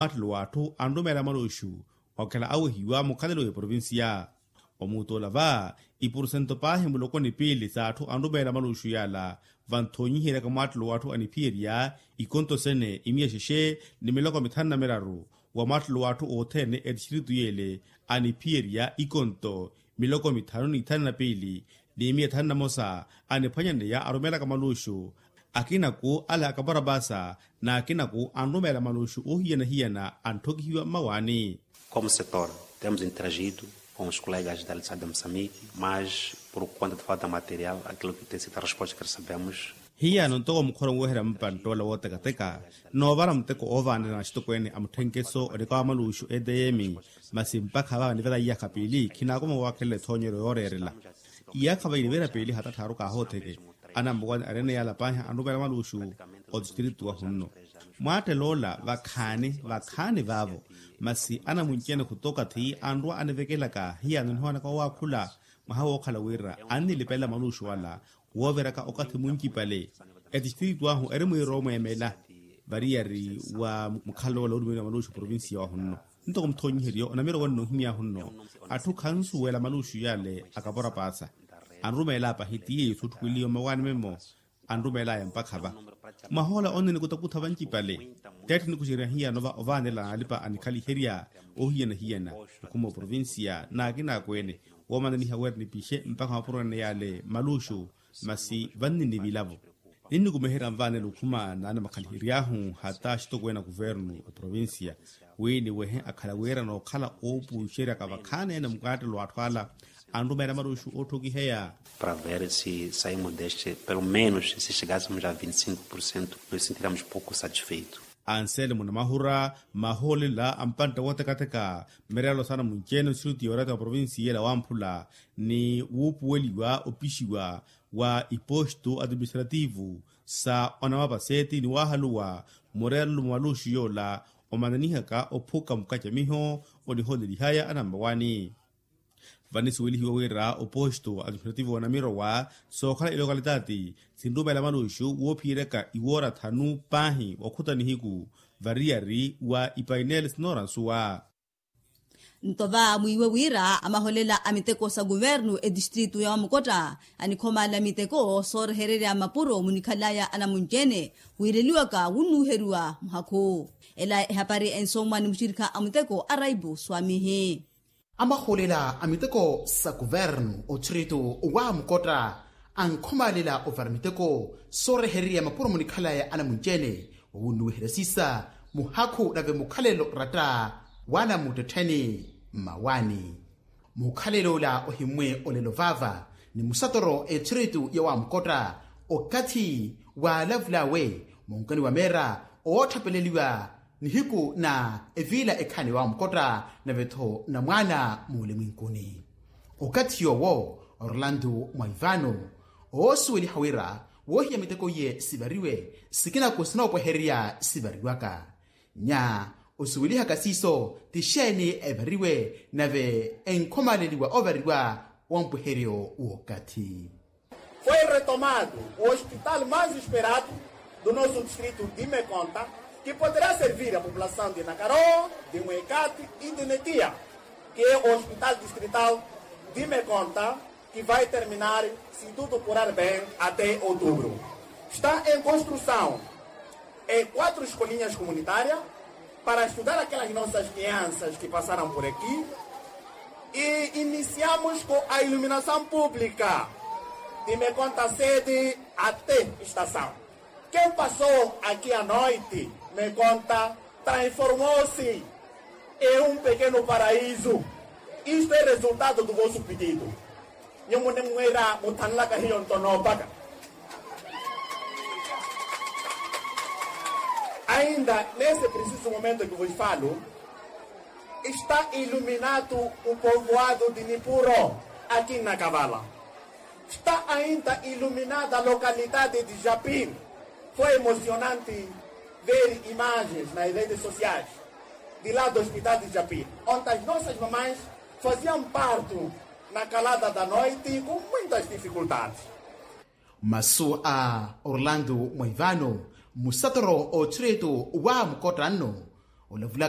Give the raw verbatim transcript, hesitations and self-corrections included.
Mwattelo w'atthu anrumeela maluxu okhala awehiwa mukhalelo w'eprovincia. Omuutola va iporosento paahi muloko ni piili s'atthu anrumeela maluxu yaala vanthoonyiheryaka mwattelo w'atthu aniphiyerya ikonto sene imiya xexe ni miloko mithanu na miraru. Wa mwattelo w'atthu othene etistritu yeele aniphiyerya ikonto miloko mithanu ni ithanu na piili ni imiya ithanu na mosa. Aniphwanyaneya arumeelaka maluxu akinaku ala akaparapasa n'akinaku anrumeela maluxu oohiyana-hiyana antthokihiwa mmawaani. Como setor temos interagido com os colegas da litsada de moçambique mas por conta de falta material aquilo que tem sido a resposta que recebemos. Hiyano ntoko mukhora onweherya mpanttoola wootekateka noovara muteko oovaanela na axitokweene a mutthenkeso onikawa maluxu etm. Masi mpakha vaava nivela iyakha piili khinaakuma waakhelela ethoonyeryo yooreerela. Iyakha vainiveera piili hatattharu kaahootheke anammuwani areene yaala paahi anrumeela maluxu otistritu wahunno. Mwaatteloola vakhaani vakhaani vaavo masi anamunci-ene khutokathi anrwa anivekelaka hiyano nihoonaka wowaakhula. Mwaha wookhala wira annilipelela maluxu ala wooviraka okathi muncipale. Etistritu ahu eri mwiira omweemela variyari wa mukhalelo woorumeeliwa maluxu provincia wahunno. Ntoko muthoonyiheryo onamira owanna ohimyaahu nno atthu khansuwela maluxu yale akaporapasa anrumeela apahi ti yeeyo sutthukweliwa mmawaani memmo. Anrumeelaya mpakha va mwahoola onne nikutakutha vancipale. Teetthe nikuxerya hiyano va ovaanela n'alipa anikhaliherya oohiyana-hiyana okhuma oprovincia n'akin'akweene woomananiha wira nipixe mpakha mapuro ene yale maluxu. Masi vanninivilavo ninnikumeherya nvaanela okhuma n'anamukhalihery'ahu hata axitokweene a kuvernu a provincia wi niwehe akhala wira nookhala oopuxeryaka vakhaani ene mukaattelo w'atthu ala anrumeela maruxu ootthokiheya. Para ver si saimos deste pelo menos si chegassemos a vinte e cinco por cento nos sentiríamos pouco satisfeito. Anselmo namahura mahoolela a mpantte wootekateka mmereelo saana munci-ene osiruti yoorata wa provincia ela wamphula ni wuupuweliwa opixiwa wa iposto administrativo sa onamapaseeti ni waahaluwa mureerelo mwa maluxu yoola omananihaka ophuka mukacamiho onihoolelihaya anammawaani. Vanisuwelihiwa wira oposto administrativo wa namirowa sookhala ilokalitati sinrumeela maluxu woophiyeryaka iwoora thanu paahi wakhutta nihiku variyari wa ipainele sinoora nsuwa. Nto va mwiiwe wira amaholela a miteko sa kuvernu etistritu ya wamukotta anikhomaala miteko soorehererya mapuro munikhalaya anamunci-ene wiireliwaka wunnuuheriwa muhakhu. Ela ehapari ensomwa ni muxirikha a muteko a raipu swamihi. Amaholela a miteko sa kuvernu otritu wa mukotta ankhomaalela ovara miteko soorehererya mapuro munikhalaya anamunci-ene wowunnuwiherya siisa muhakhu nave mukhalelo ratta w'anamuttettheni mmawaani. Mukhalelo ola ohimmwe olelo vaava ni musatoro etthiritu ya wamukotta okathi waalavul'awe munkani wa meera ootthapeleliwa nihiku na eviila ekhaani wamukotta nave-tho na mwaana muulimwinkuni. Okathi yoowo orlando mwaivano oosuweliha wira woohiya miteko iye sivariwe sikinaku sinoopwehererya sivariwaka. Nya osuwelihaka siiso ti xeeni evariwe nave enkhomaaleliwa ovariwa wa mpweheryo w'okathi. Foi retomado o hospital mais esperado do nosso distrito de Mekonta, que poderá servir a população de Nakaroa, de Mwekati e de Netia, que é o hospital distrital de Mekonta, que vai terminar, se tudo correr bem, até outubro. Está em construção em quatro escolinhas comunitárias para estudar aquelas nossas crianças que passaram por aqui. E iniciamos com a iluminação pública de Mekonta sede até estação. Quem passou aqui à noite, Mekonta transformou-se em um pequeno paraíso. Isto é resultado do vosso pedido. Nyo munimwira muthanlaka hiyo nto noopaka. Ainda nesse preciso momento que vos falo, está iluminado o povoado de Nipuro, aqui na Kavala. Está ainda iluminada a localidade de Japir. Foi emocionante ver imagens nas redes sociais de lá do hospital de Japir, onde as nossas mamães faziam parto na calada da noite com muitas dificuldades. Masu a orlando mwaivano musatoro othiritu wa mukotta nno olavulaka